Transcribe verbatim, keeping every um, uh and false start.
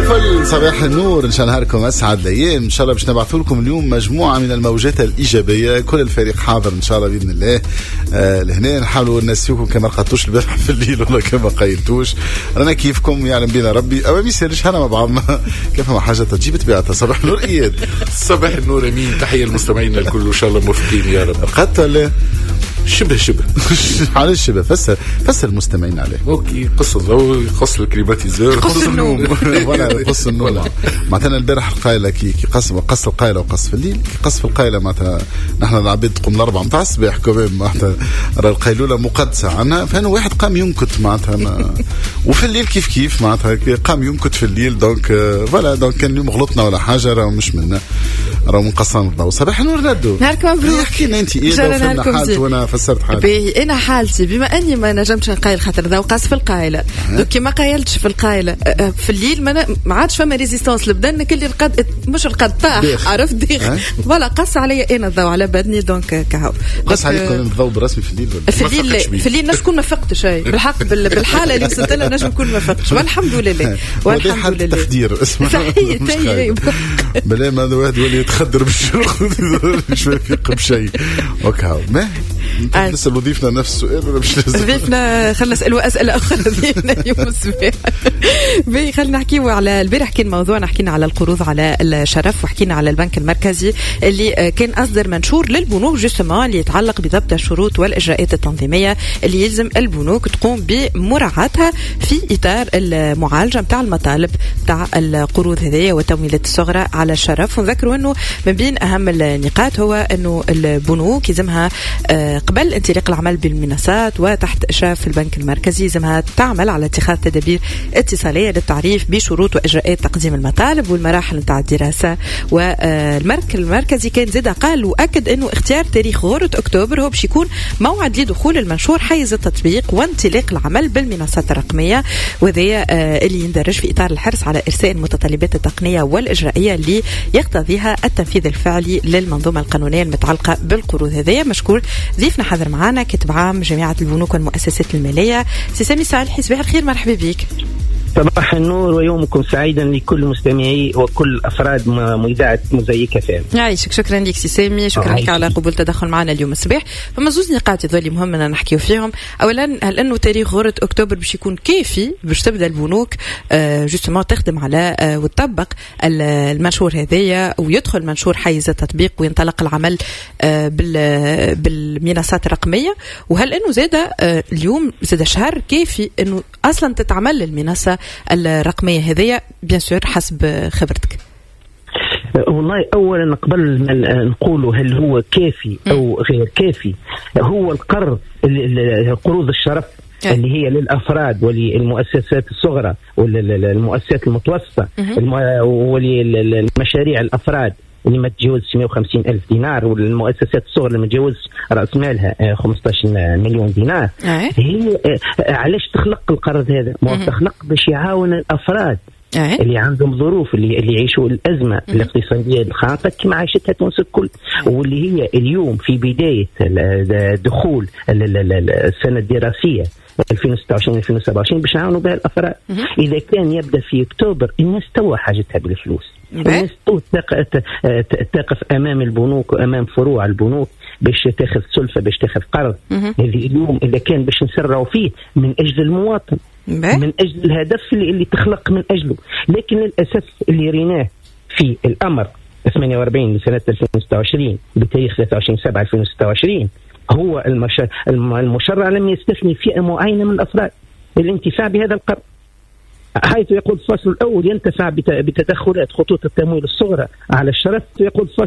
الفل، صباح النور، ان شاء الله نهاركم اسعد الايام. ان شاء الله باش نبعثوا لكم اليوم مجموعة من الموجات الايجابيه، كل الفريق حاضر ان شاء الله باذن الله. آه لهنا نحاولوا نسيوكم كما رقدتوش البارح في الليل ولا كما قيلتوش، رانا كيفكم يعلم بينا ربي، او ما يسالش هنا مع بعضنا كيف ما حاجة تجيب طبيعتها. صباح النور اياد. صباح النور امين، تحية للمستمعين الكل، ان شاء الله موفقين يا رب. رقدت ولا؟ شبه شبه. علاش شبه؟ فسر فسر المستمعين عليه. OK، قص الضوء، قص ال climatiseur، قص النوم، voilà، قص النوم. معناتها البارح القايله كي كي قص قص القايله وقص في الليل، كي قص في القايله معناتها نحن العباد تقوم الاربعة نتاع الصباح quand même، معناتها القيلوله مقدسة عندنا، فانه واحد قام ينكت معناتها ما وفي الليل كيف كيف معناتها قام ينكت في الليل. donc voilà، donc كان اليوم غلطنا ولا حاجة راه مش منا، راه من قصان الضوء. صباح النور ندو. نهاركم مبروك. احكي لنا انت ايه حالتي وانا فسرت حالتي. باهي، انا حالتي بما اني ما نجمتش نقايل خاطر ضوء قاص في القايله، donc كي ما قايلتش في القايله في الليل ما, ما عادش فما résistance البدن كل رقد، مش رقد طاح، عرفت، ديخ، voilà، قص عليا انا الضوء على بدني، donc كهو. قص عليك الضوء برسمي في الليل؟ في الليل، في الليل نجم نكون ما فقتش، بالحق بالحالة اللي وصلت لها نجم نكون ما فقتش، والحمد لله. والحمد لله. تخدير اسمها. صحيح. بلا ما هذا واحد يولي يتخدر بالشرق مش يفيق بشيء وكهو. ما نسأل ضيفنا نفس السؤال ولا مش لازم؟ ضيفنا خلينا نسألوا أسئلة أخرى ضيفنا اليوم الصباح. باهي، خلينا نحكيو على البارح كان موضوعنا، حكينا على القروض على الشرف وحكينا على البنك المركزي اللي كان أصدر منشور للبنوك justement اللي يتعلق بضبط الشروط والإجراءات التنظيمية اللي يلزم البنوك تقوم بمراعاتها في إطار المعالجة نتاع المطالب نتاع القروض هذيا والتمويلات الصغرى على الشرف. ونذكروا أنه من بين أهم النقاط هو أنه البنوك يلزمها قبل انطلاق العمل بالمنصات وتحت إشراف البنك المركزي يلزمها تعمل على اتخاذ تدابير اتصالية للتعريف بشروط وإجراءات تقديم المطالب والمراحل نتاع الدراسة. والمركز المركزي كان زاد قال وأكد أنه اختيار تاريخ غرة أكتوبر هو باش يكون موعد لدخول المنشور حيز التطبيق وانطلاق العمل بالمنصات الرقمية، وذا اللي يندرج في إطار الحرص على إرساء المتطلبات التقنية والإجرائية اللي يقتضيها التنفيذ الفعلي للمنظومة القانونية المتعلقة بالقروض هذيا. مشكور ضيفنا حاضر معنا كاتب عام جامعة البنوك والمؤسسات المالية سي سامي صالحي. صباح الخير، مرحبا بك. صباح النور ويومكم سعيدا لكل مستمعي وكل افراد اذاعة موزاييك اف ام. يعيشك، شكرا لك سي سامي، شكرا لك على قبول التدخل معنا اليوم الصباح. فما زوز نقاط يظل مهم ان نحكيو فيهم. اولا، هل انه تاريخ غرة اكتوبر باش يكون كافي باش تبدا البنوك justement تخدم على وتطبق المنشور هذايا ويدخل منشور حيز التطبيق وينطلق العمل بالمنصات الرقميه؟ وهل انه زاد اليوم زاد شهر كافي انه اصلا تتعمل المنصة الرقمية هذيا bien sûr حسب خبرتك؟ والله اولا قبل ما نقولوا هل هو كافي او غير كافي، هو القرض، قروض الشرف اللي هي للافراد وللمؤسسات الصغرى والمؤسسات المتوسطة وللمشاريع الافراد اللي ما تجاوزش مية وخمسين ألف دينار، والمؤسسات الصغرى اللي ما تجاوزش رأس مالها خمسطاش مليون دينار. هي علاش تخلق القرض هذا؟ ما تخلق باش يعاون الأفراد اللي عندهم ظروف، اللي اللي يعيشوا الأزمة الاقتصادية الخانقة كما عاشتها تونس الكل، واللي هي اليوم في بداية دخول السنة الدراسية ألفين وستة وعشرين ألفين وسبعة وعشرين باش نعاونوا بها الأفراد. إذا كان يبدأ في أكتوبر الناس توا حاجتها بالفلوس، الناس تو تقف أمام البنوك وأمام فروع البنوك باش تاخذ سلفة، باش تاخذ قرض. هذه اليوم إذا كان باش نسرعوا فيه من أجل المواطن، من أجل الهدف اللي, اللي تخلق من أجله. لكن للأسف اللي ريناه في الأمر ثمانية وأربعين لسنة ألفين وستة وعشرين بتاريخ ثلاثة وعشرين سبعة ألفين وستة وعشرين هو المشرع لم يستثني فئة معينة من الأفراد للانتفاع بهذا القرض، حيث يقول الفصل الأول ينتفع بتدخلات خطوط التمويل الصغرى على الشرف. يقول الفصل